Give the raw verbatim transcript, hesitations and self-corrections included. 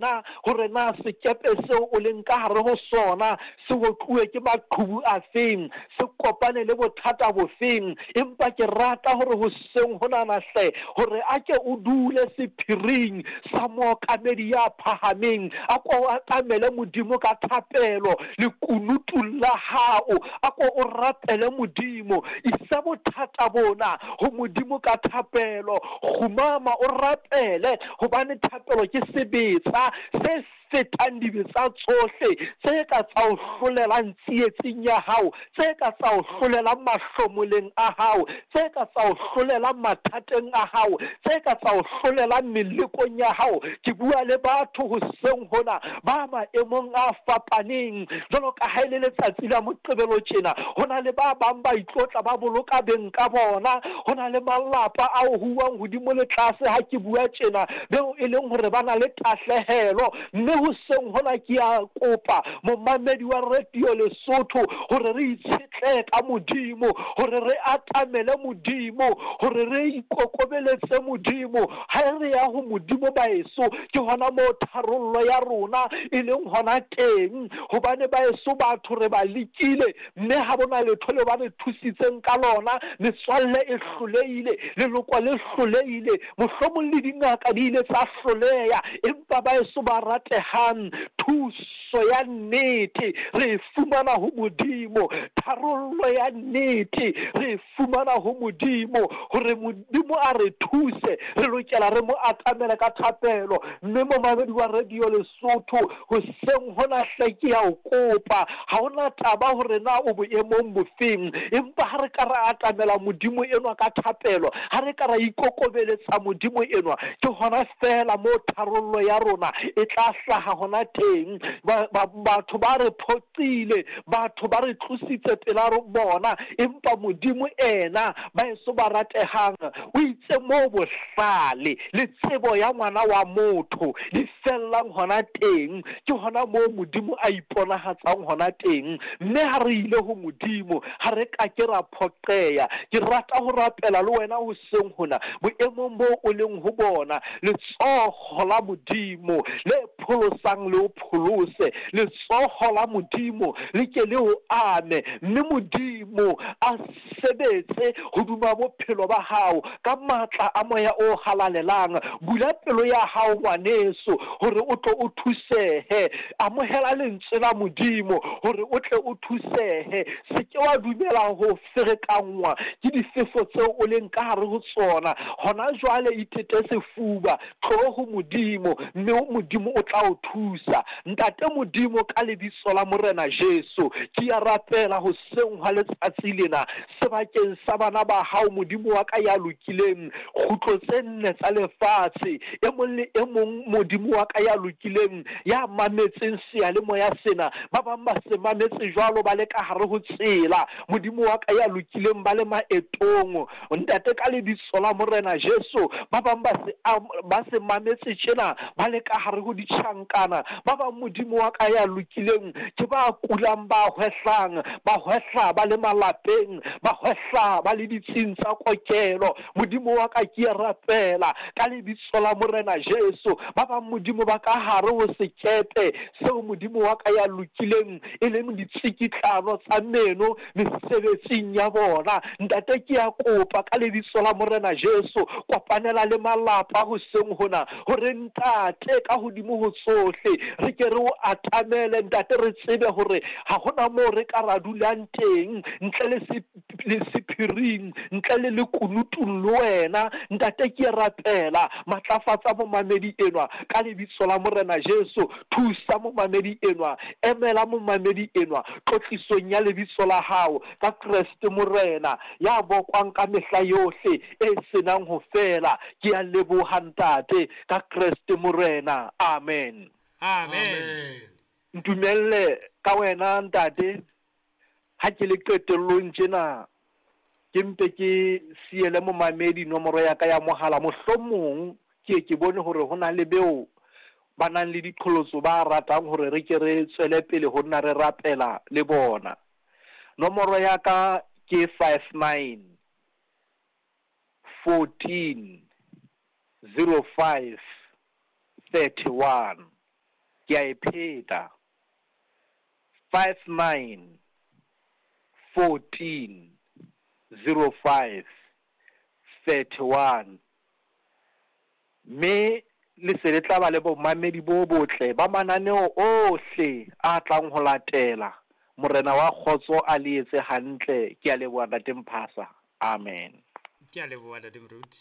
Na hore na sekepe seo o leng ka hare ho sona se otluwe ke maqhubu a feng, se kopane le bothata bofeng. Empa ke rata hore hoseng honana hle, hore a ke o dule sephiring sa mookamedi ya phahameng, a ko o atamele Modimo ka thapelo lekunutung la hao, a ko o rapele Modimo. Isa bothata bona ho Modimo ka thapelo, kgumama o rapele, hobane thapelo ke sebetsa se fetang dibetsa tsohle tse ka tsa o hlolelang tsietsing ya hao, tse ka tsa o hlolelang mahlomoleng a hao, tse ka tsa o hlolelang mathateng a hao, tse ka tsa o hlolelang melekong ya hao. Ke bua le batho hoseng hona ba maemong a fapaneng, jwalo ka ha e le letsatsi la Moqebelo tjena, ho na le ba bang ba itlotla ba boloka beng ka bona, ho na le malapa a huwang hodimo le tlase ha ke bua tjena, beo e leng hore ba na le tahlehelo. Mme hoseng hona ke a kopa momamedi wa Radio Lesotho hore re itshetlehe ka Modimo, hore re atamele Modimo, hore re ikokobeletse Modimo. Ha re ya ho Modimo baeso, ke hona moo tharollo ya rona e leng hona teng, hobane baeso batho re ba lekile, mme ha bona letho leo ba re thusitseng ka lona. Metswalle e hlolehile, leloko le hlolehile, mohlomong le dingaka di ile tsa hloleha, empa baeso ba ratehang, thuso ya nnete re e fumana ho Modimo, tharollo ya nnete re e fumana ho Modimo. Hore Modimo a re thuse, re lokela re mo atamele ka thapelo. Mme momamedi wa Radio Lesotho, hoseng hona hle ke ya o kopa, ha hona taba hore na o boemong bofeng, empa ha re ka ra atamela Modimo enwa ka thapelo, ha re ka ra ikokobeletsa Modimo enwa, ke hona feela moo tharollo ya rona e tla hlaha hona teng. Batho ba re phoqile, batho ba re tlositse pela bona, empa Modimo ena baeso ba ratehang o itse moo bohlale le tsebo ya ngwana wa motho di fellang hona teng, ke hona moo Modimo a iponahatsang hona teng. Mme ha re ile ho Modimo, ha re ka ke ra phoqeya. Ke rata ho rapela le wena hoseng hona boemong boo o leng ho bona, letsoho la Modimo le pholosang le o pholose, letsoho la Modimo le ke le o ame, mme Modimo a sebetse hodima bophelo ba hao ka matla a moya o halalelang. Bula pelo ya hao ngwaneso, hore o tlo o thusehe. Amohela lentswe la Modimo hore o tle o thusehe. Se ke wa dumela ho ferekanngwa ke difefo tseo o leng ka hare ho tsona hona jwale. Itete sefuba, tlo ho Modimo, mme Modimo o tla o thusa. Ntate Modimo, ka lebitso la Morena Jesu, ke ya rapela hoseng hwa letsatsi lena sebakeng sa bana ba hao, Modimo wa ka ya lokileng, kgutlo tse nne tsa lefatshe, e mong le e mong Modimo wa ka ya lokileng ya mametseng seyalemoya sena, ba bang ba se mametse jwalo ba le ka hare ho tsela, Modimo wa ka ya lokileng ba le maetong. Ntate, ka lebitso la Morena Jesu, ba bang ba se ba se mametse tjena ba le ka hare ho ditjhankana, ba bang Modimo wa ka ya lokileng ke ba kulang, ba hwehlang, ba hwehla ba le malapeng, ba hwehla ba le ditsing tsa kokelo. Modimo wa ka, ke a rapela ka lebitso la Morena Jesu, ba bang Modimo ba ka hare ho sekepe seo Modimo wa ka ya lokileng e leng ditsikitlano tsa meno mesebetsing ya bona. Ntate, ke a kopa ka lebitso la Morena Jesu, kopanela le malapa hoseng hona, hore ntate ka hodimo ho tsohle re ke re o atamele. Ntate, re tsebe hore ha hona moo re ka ra dulang teng ntle le le sephiring, ntle le lekunutung le wena. Ntate, ke rapela, matlafatsa momamedi enwa ka lebitso la Morena Jesu. Thusa momamedi enwa, emela momamedi enwa tlotlisong ya lebitso la hao ka Kreste Morena ya bokwang ka mehla yohle e senang ho fela. Ke a leboha ntate ka Kreste Morena, amen. Amen. Ntumelle ka wena ntate, ha ke le qetellong tjena, ke mpe ke siele momamedi nomoro ya ka ya mohala. Mohlomong ke ke bone hore ho na le beo ba nang le diqholotso ba ratang hore re ke re tswele pele ho nna re rapela le bona. Nomoro ya ka ke five nine fourteen zero five thirty one. Ke a e pheta, five nine fourteen zero five thirty one. Mme le se le tla ba le bomamedi bo botle ba mananeo ohle a tlang ho latela. Morena wa kgotso a le etse hantle. Ke a leboha, Ntate Mphasa. Amen. Ke a leboha, Ntate Moruti.